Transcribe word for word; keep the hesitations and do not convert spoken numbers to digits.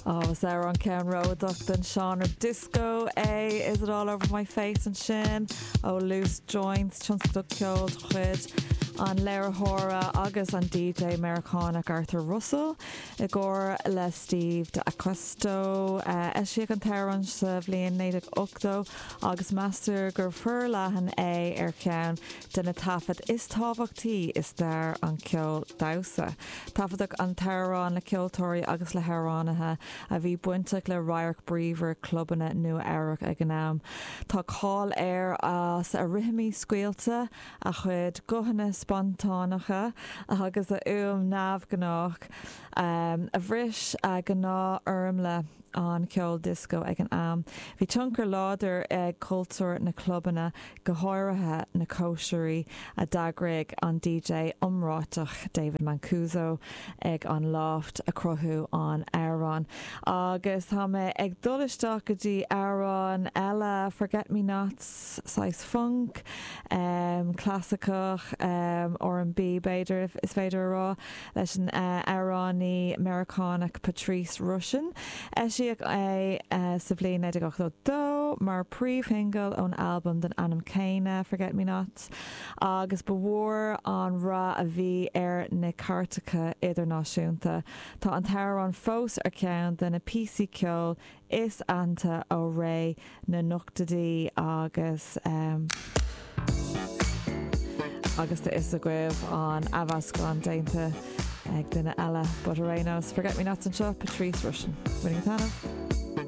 Agus ar an ceannródaíoch den seánra disco é Is it all over my face ansin ó Loose Joints tionscadal ceoil de chuid an léiritheora agus an DJ Meiriceánach Arthur Russell i gcomhar le Steve D'Acquisto uh, eisíodh an t-amhrán sa bhliain naoi déag ochtó agus meastar gur forleathan é ar cheann de na taifid is tábhachtaí i stair an cheoil damhsa. Taifeadadh an t-amhrán le ceoltóirí agus le hamhránaithe a bhí bainteach le radharc bríomhar clubanna Nua-Eabhrac ag an am. Tá cáil air as a rithimí scaoilte a chuid guthanna spontáineacha agus a fhuaim neamhghnách um, a bhris a gnáthfhoirmle an cheoil disco ag an am. Bhí tionchar láidir ag cultúr na clubanna go háirithe na cóisirí a d'eagraigh an DJ iomráiteach David Mancuso ag an Loft a cruthaíodh an t-amhrán. Agus tá mé ag dul isteach go dtí amhrán eile Forget Me Nots saghas funk, um, clasaiceach um, R&B b'fhéidir is féidir a rá leis an uh, amhránaí Meiriceánach Patrice Rushen. Eisíodh é uh, sa bhliain naoi déag dó mar príomhshingil ón albam den ainm céanna Forget Me Nots agus ba mhór an rath a bhí ar na cairteacha idirnáisiúnta. Tá an t-amhrán fós ar ceann de na píosaí ceoil is aitheanta ó ré na n-ochtóidí agus um, agus tá is agaibh an athmheascán déanta ag duine eile, but ar aon nós Forget Me Nots anseo Patrice Rushen. Winning tanah.